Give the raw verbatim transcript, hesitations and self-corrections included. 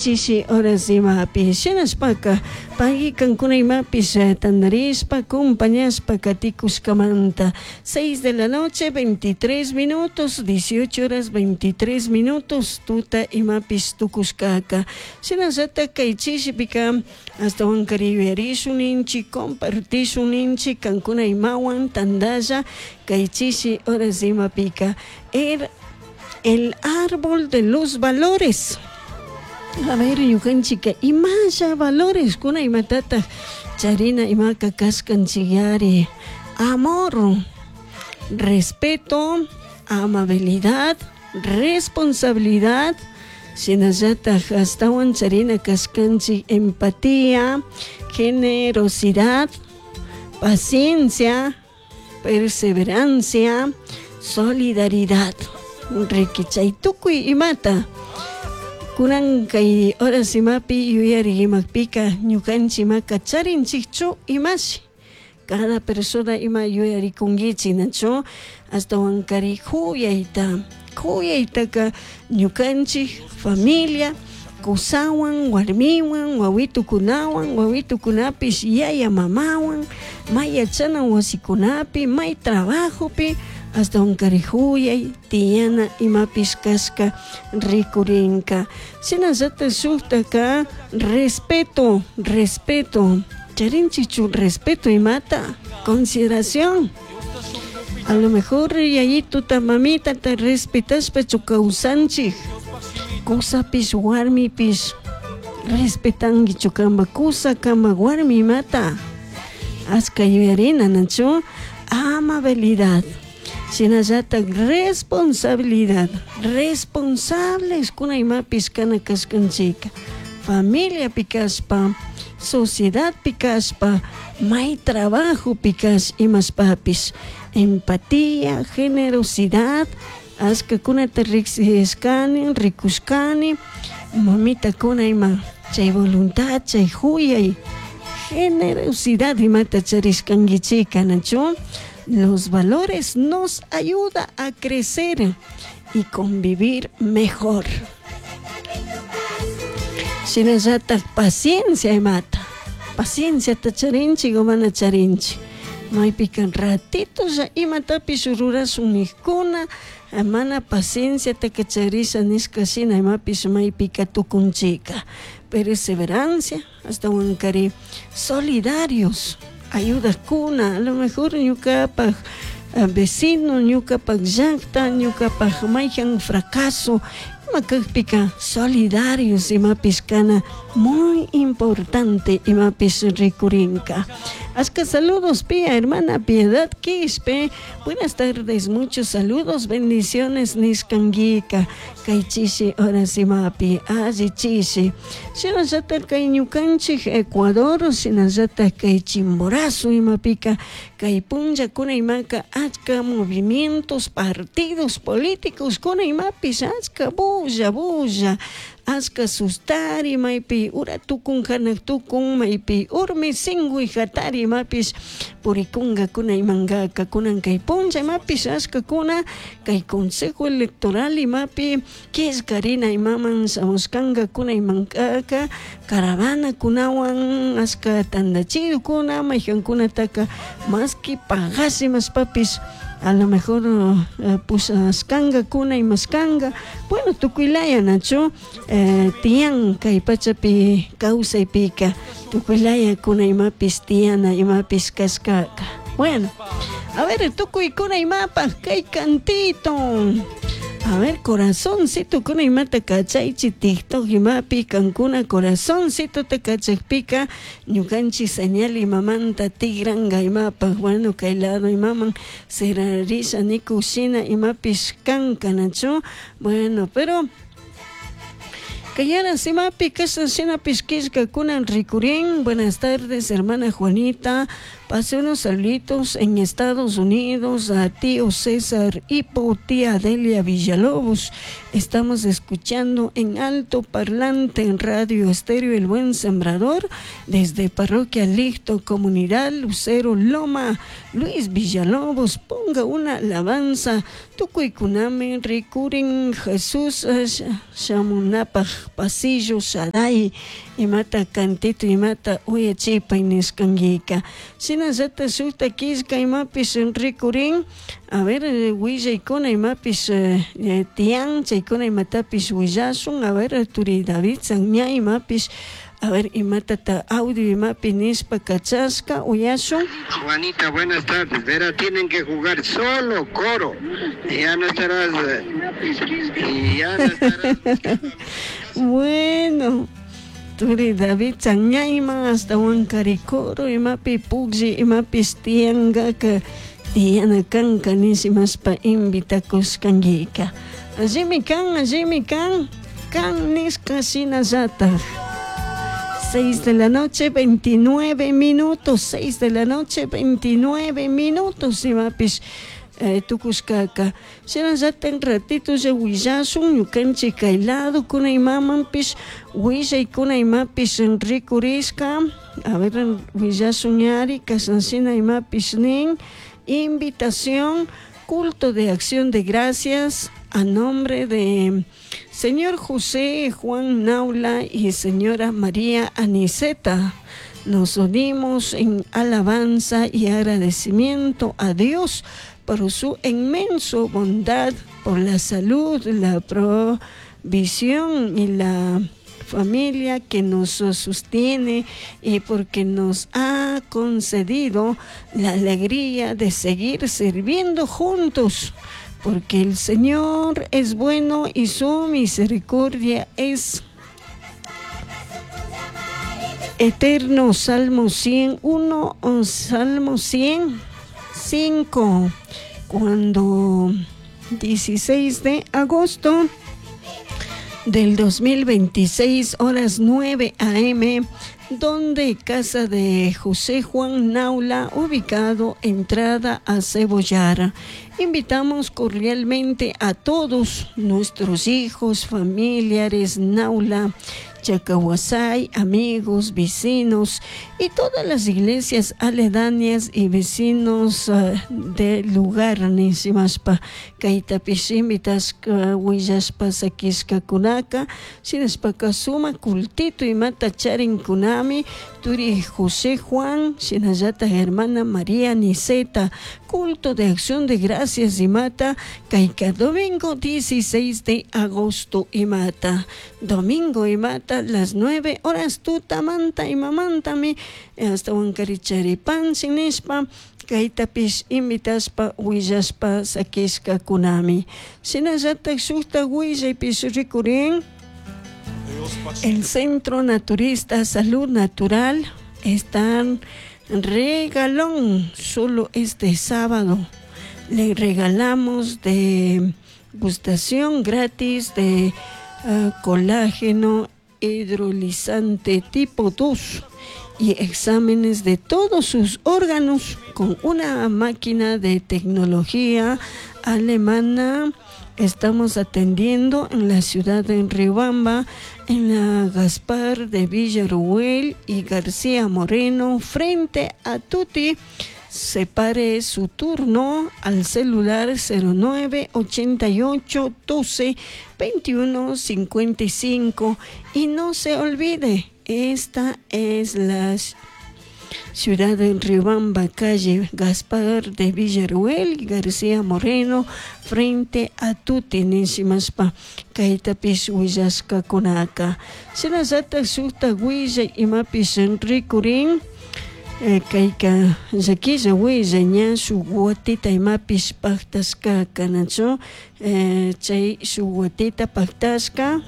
Chishi horas imapi shinashpaka pagui kankuna imapish tandarishpa compañashpa katikushkamanta. Seis de la noche veintitrés minutos, dieciocho horas veintitrés minutos, tuta imapish tukushkaka. Shinallatak kay chishipika ashtawankari yuyarishun ninchik, compartishun ninchik kankuna imawan tandalla kay chishi horas imapika el, el árbol de los valores. A ver, ñukanchika imalla valores kuna imatataj charina imaka kashkanchik. Amor, respeto, amabilidad, responsabilidad, shinallataj ashtawan charina kashkanchik empatía, generosidad, paciencia, perseverancia, solidaridad. Riki chay tukuy imata kunan kay horas imapi yuyari imapika ñukanchik imaka charinchikchu imashi cada persona ima yuyarikunkichik nachu ashtawankari kuyayta kuyaytaka ñukanchik familia kusawan warmiwan wawitukunawan wawitukunapish yaya mamawan may yachana wasikunapi may trabajopi ashtawankari huyay tiyana imapish kashka rikurinka. Shinallatak shuktaka respeto, respeto charinchikchu respeto imata consideración. A lo mejor yayituta mamitata respetashpachu kawsanchik kusapish warmipish respetankichu kanpa kusa kanpa warmi imata ashka yuyarina nachu amabilidad. Shinallatak responsabilidad, responsables kuna imapish kana kashkanchika familiapi kashpa, sociedadpi kashpa, may trabajopi kash imashpapish empatía, generosidad, ashkakunata riksishkani, rikushkani, mamitakuna ima chay voluntad, chay huyay, generosidad imata charishkankichika nachu. Los valores nos ayuda a crecer y convivir mejor. Shinallatak paciencia imata, paciencia ta charinchik o mana charinchik. Maypika ratitolla imatapish rurashun nijkuna mana pacienciataka charisha nishka shina imapish maypika tukunchika. Perseverancia, ashtawankari solidarios, ayudakuna, a lo mejor ñukapaj vecino, ñukapaj llakta, ñukapaj mayjan fracaso, ima kakpika solidarios imapish kana muy importante imapish rikurinka. Ashka saludos pia hermana Piedad Quispe, buenas tardes, muchos saludos, bendiciones nishkankika kay chishi horas imapi alli chishi. Shinallatak kay ñukanchik Ecuador, shinallatak kay Chimborazo imapika kay punllakuna imaka achka movimientos, partidos políticos kuna imapish achka bulla bulla achka sustari maypi ura tukun hanak tukun maypi urmi singuy hatari imapish purikunkakuna imankaka kunan kay punlla imapish ashkakuna kay Consejo Electoral imapi killkarina imaman shamushkankakuna imankaka caravanakunawan ashka tandachidukuna mayjankunataka maski pagash imashpapish a lo mejor uh, pushashkankakuna imashkanka bueno tukuylaya nachu eh, tiyan kay pachapi kawsaypika tukuylaya kuna imapish tiyana imapish kashkaka. Bueno, a ver tukuykuna imapaj kay cantito. A ver, corazoncito kuna imata kachaychi TikTok imapi kankuna corazoncito ta kachakpika ñukanchik señal imamanta tigranka imapaj bueno kay lado imaman sirarisha nikushina imapish kanka nachu bueno pero Kayara simapi kashna shinapish killkakuna rikurin. Buenas tardes, hermana Juanita. Pase unos saluditos en Estados Unidos a tío César Hipo, tía Delia Villalobos. Estamos escuchando en alto parlante en Radio Estéreo El Buen Sembrador desde Parroquia Licto, Comunidad Lucero Loma. Luis Villalobos, ponga una alabanza. Tukuykunami rikurin Jesús shamunapaj pasillo Shaddai imata cantito imata uyachipay nishkankika. Shinallata shukta killka imapish rikurin, a ver, willaykuna imapish tiyan chaykuna imatapish willashun, a ver, turi David Sanña imapish, a ver, imatata audio imapi nishpa kachashka uyashun. Juanita, buenas tardes. Verá, tienen que jugar solo coro. Ya no estarás. Y ya no estarás. Bueno, turi David Sanñayman hasta Huancaricoro imapi puklli imapis tiyankaka tiyana kanka nishimashpa invitakushkankika. Allimi kan, allimi kan, kan nishka shinallatak. seis de la noche, veintinueve minutos, seis de la noche, veintinueve minutos, imapis eh, tukushkaka. Shinallata ratito ya willashun ñukanchik kay lado kuna imamanpish willaykuna imapish rikurishka. A ver, willashun ñari kashanshina imapish nin. Invitación, culto de acción de gracias a nombre de señor José Juan Naula y señora María Aniceta. Nos unimos en alabanza y agradecimiento a Dios por su inmenso bondad, por la salud, la provisión y la familia que nos sostiene y porque nos ha concedido la alegría de seguir sirviendo juntos, porque el Señor es bueno y su misericordia es eterno. Salmo ciento uno, Salmo ciento cinco, cuando dieciséis de agosto del dos mil veintiséis, horas nueve a eme, donde casa de José Juan Naula, ubicado entrada a Cebollar. Invitamos cordialmente a todos nuestros hijos, familiares Naula, Chacahuasay, amigos, vecinos y todas las iglesias aledañas y vecinos uh, del lugar nishimashpa kaytapish invitashka willashpa sakishkakunaka shinashpaka suma cultito imata charinkunami turi José Juan shinallata hermana María Aniceta, culto de acción de gracias imata kayka domingo dieciséis de agosto imata domingo imata las nueve horas tutamanta imamantami hasta Huancaricharipan sinishpa kaytapish invitashpa willashpa sakishkakunami shinallatak shukta willaypish rikurin. El Centro Naturista Salud Natural están regalón solo este sábado. Le regalamos de gustación gratis de uh, colágeno hidrolizante tipo dos y exámenes de todos sus órganos con una máquina de tecnología alemana. Estamos atendiendo en la ciudad de Riobamba, en la Gaspar de Villarruel y García Moreno, frente a Tuti. Separe su turno al celular cero nueve ochenta y ocho doce veintiuno cincuenta y cinco. Y no se olvide, esta es la ciudad de Riobamba, calle Gaspar de Villarruel, García Moreno, frente a Tuti, nishimashpa kaytapish willashkakunaka. Shinallata shukta willay imapish rikurin, kayka llakilla willay ña shuk watita imapish paktashka kanachu, chay shuk watita paktashka.